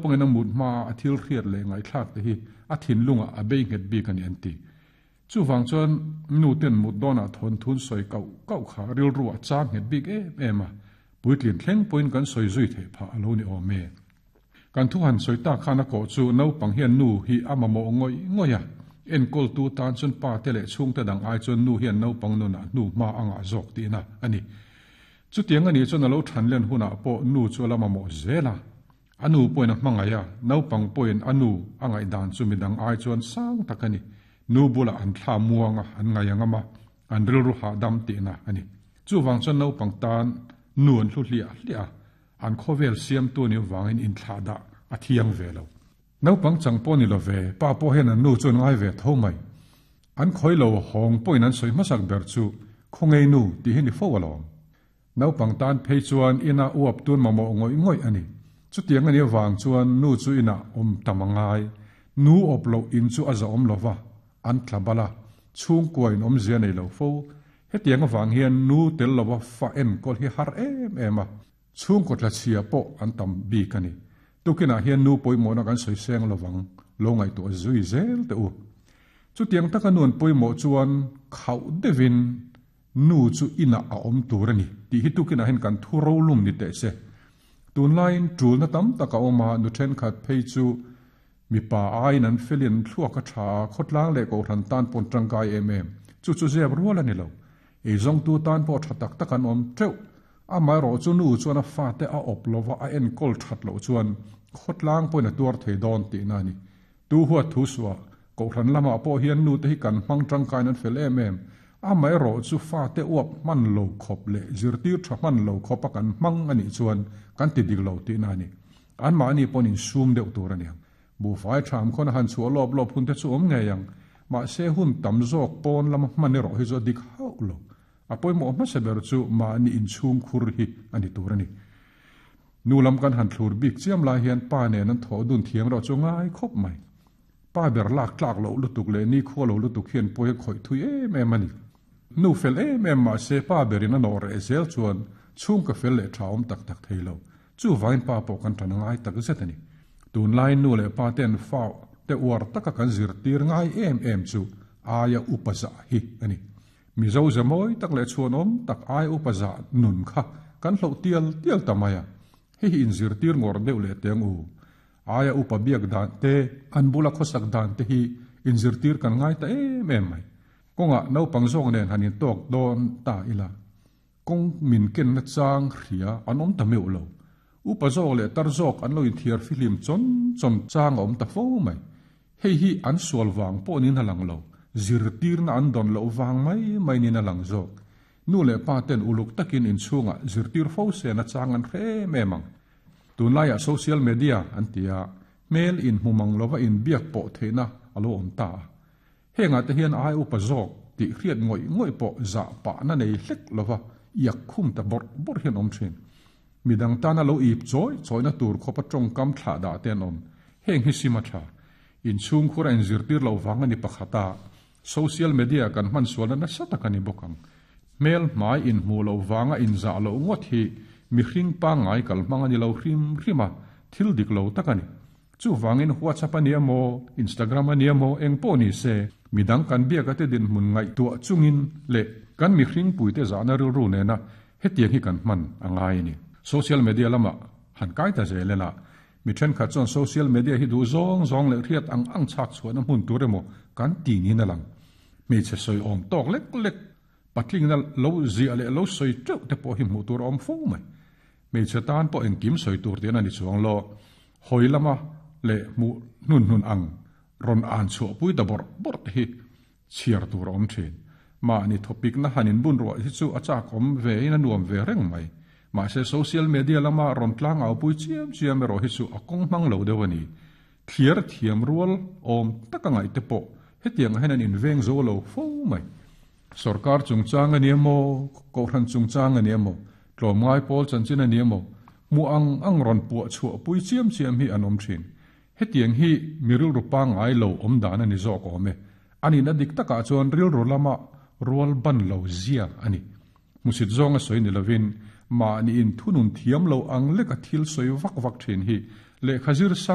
Naupangin a mut hmaa a thil hriat leh ngaihthlak te hi a thinlungah a bei nghet bik a ni an ti. Chuvang chuan nu ten mut dawnah thawnthun sawi kauh kauh kha rilru a chang nghet bik em em a, puitlin thleng pawhin kan sawi zui theih phah a lo ni awm e. Kan thu han sawi tak khan a kawh chu naupang hian nu hi a mamawh ngawih ngawih a, enkawltu tan chuan pa te leh chhungte dang ai chuan nu hian naupang nunah hnu hma a ngah zawk tihna a ni. Chutiang a nih chuan a lo than len hunah pawh nu chu a la mamawh zel a. A nu pawhin a hmangaih a, naupang pawhin a nu a ngaihdan chu midang ai chuan sang tak a ni. Nu bulah an thla muang a, an ngaih ang a, an rilru hahdam tihna a ni. Chuvang chuan naupang tan nu an hlu hliah hliah a, an khawvel siamtu nih avangin inthlah dah a thiang ve lo. Naupang chang pawh ni lo ve, pa pawh hian an nu chu an ngai ve tho mai. An khawi lo hawng pawhin an sawi hmasak ber chu Khawngei nu tih hi ni fo alawm. Naupang tan phei chuan ina uap tun mamawh ngawih ngawih a ni. Chutiang a nih avang chuan nu chu inah awm tam a ngai. Nu awp loh in chu a zahawm lo va, an tla bal a, chhungkua in awmzia nei lo fo. Hetiang avang hian nu tel lova fa enkawl hi har em em a. Chhungkaw tlachhia pawh an tam bik a ni. Tukinah hian nu pawimawhna kan sawi seng lovang, lo ngaihtuah zui zel teh u. Chutiang taka nu an pawimawh chuan khauh deuhin nu chu inah a awm tur a ni tih hi tukinah hian kan thu rolum ni teh se. Tunlaiin tulna tam tak a awm a, nu thenkhat phei chu mipa aiin an felin thluak a tha a, khawtlang leh kohhran tan pawn tangkai em em. Chu chu zep rual a ni lo. Eizawngtu tan pawh tha tak tak an awm teuh. Amaherawh chu nu chuan a fate a awp lova a enkawl that loh chuan khawtlang pawhin a tuar thei dawn tihna a ni. Tu huat thu suah, Kohhran lamah pawh hian nute hi kan hmang tangkaiin an fel em em. Amaherawh chu fate uap hman lo khawp leh zirtir tha hman lo khawpa kan hmang a nih chuan kan ti dik lo tihna a ni. Anmahni pawhin insum deuh tur a niang. Buhfai tham khawn a han chhuah lawp lawp hun te chu awm ngei ang. Mahse hun tam zawk pawn lama hman erawh hi chu a dik hauh lo. A pawimawh hmasa ber chu mahni inchhung khur hi a ni tur a ni. Nu lam kan han thlur bik chiam lai hian pa nen an thawh dun thiam erawh chu ngai khawp mai. Pa ber lak tlak loh lutuk leh nikhua lo lutuk hian pawi a khawih thui em em a ni. Nu fel em em mahse pa berin a nawh reh zel chuan chhungka fel leh tha awm tak tak thei lo. Chuvangin pa pawh kan tan a ngai tak zet a ni. Tunlaiin nu leh pa ten fa te uar taka kan zirtir ngai em em chu aia upa zah hi a ni. Mizo ze mawi tak leh chhuanawm tak ai upa zah nun kha kan hloh tial tial ta mai a, hei hi inzirtir ngawrh deuh leh teng u. Aia upa biak dan te, an bula khawsak dan te hi inzirtir kan ngai ta em em mai. Kawngah naupang zawk nen han intawk dawn ta ila, kawng min kenna chang hria an awm ta meuh lo. Upa zawk leh tar zawk an lo inthiar fihlim chawn chawn chang a awm ta fo mai. Hei hi an sual vang pawh niin a lang lo, zirtirna an dawn loh vang mai mai niin a lang zawk. Nu leh pa ten uluk takin inchhungah zirtir fo sen a chang an hre em em ang. Tunlaiah social media an ti a, hmel inhmu mang lova inbiak pawh theihna a lo awm ta a. Hengah te hian ai upa zawk tih hriat ngawih ngawih pawh zah pahna nei hlek lova iak khum ta bawrh bawrh hian awm thin. Midang tana lo ip chawi chawina tur khawpa tawngkam thlah dah te an awm. Heng hi sim a tha. Inchhungkhur a inzirtir loh vang a ni pakhat a, social media kan hman sualna nasa tak a ni bawk ang. Hmel hmai inhmuh loh vanga inzah loh ngawt hi mihring pangngai kal hmang a ni lo hrim hrim a, thil dik lo tak a ni. Chuvangin WhatsApp a nia maw, Instagram a nia maw, eng pawh ni se, midang kan biak ate dinhmun ngaihtuah chungin leh kan mihring puite zahna rilru nena hetiang hi kan hman a ngai a ni. Social media lamah han kai ta zel ela, mi thenkhat chuan social media hi duh zawng zawng leh hriat ang ang chhak chhuahna hmun tur emaw kan ti niin a lang. Hmeichhe sawi awm tawk lek lek, patlingna lo ziah leh lo sawi teuh te pawh hi hmuh tur a awm fo mai. Hmeichhe tan pawh engkim sawi tur tian a ni chuang lo. Hawi lama leh hmuh hnun hnun ang rawn an chhuahpui ta bawrh bawrh te hi chhiar tur a awm thin. Mahni thawpikna han inbun ruah hi chu a chak awm ve in a nuam ve reng mai. Mahse social media lama rawn tlang aupui chiam chiam erawh hi chu a kawng hmang lo deuh a ni. Thliar thiam rual awm taka ngaih te pawh hetiang ah hian an inveng zo lo fo mai. Sorkar chungchang a ni emaw, Kohhran chungchang a ni emaw, tlawmngai pawl chanchin a ni emaw, hmuh ang ang rawn puah chhuah pui chiam chiam hi an awm thin. Hetiang hi mi rilru pangngai lo awm dan a ni zawk awm e. A nihna dik takah chuan rilru lama rual ban lo zia a ni. Hmusit zawnga sawi ni lovin mahni inthunun thiam lo ang leka thil sawi vak vak thin hi lehkha zir sang.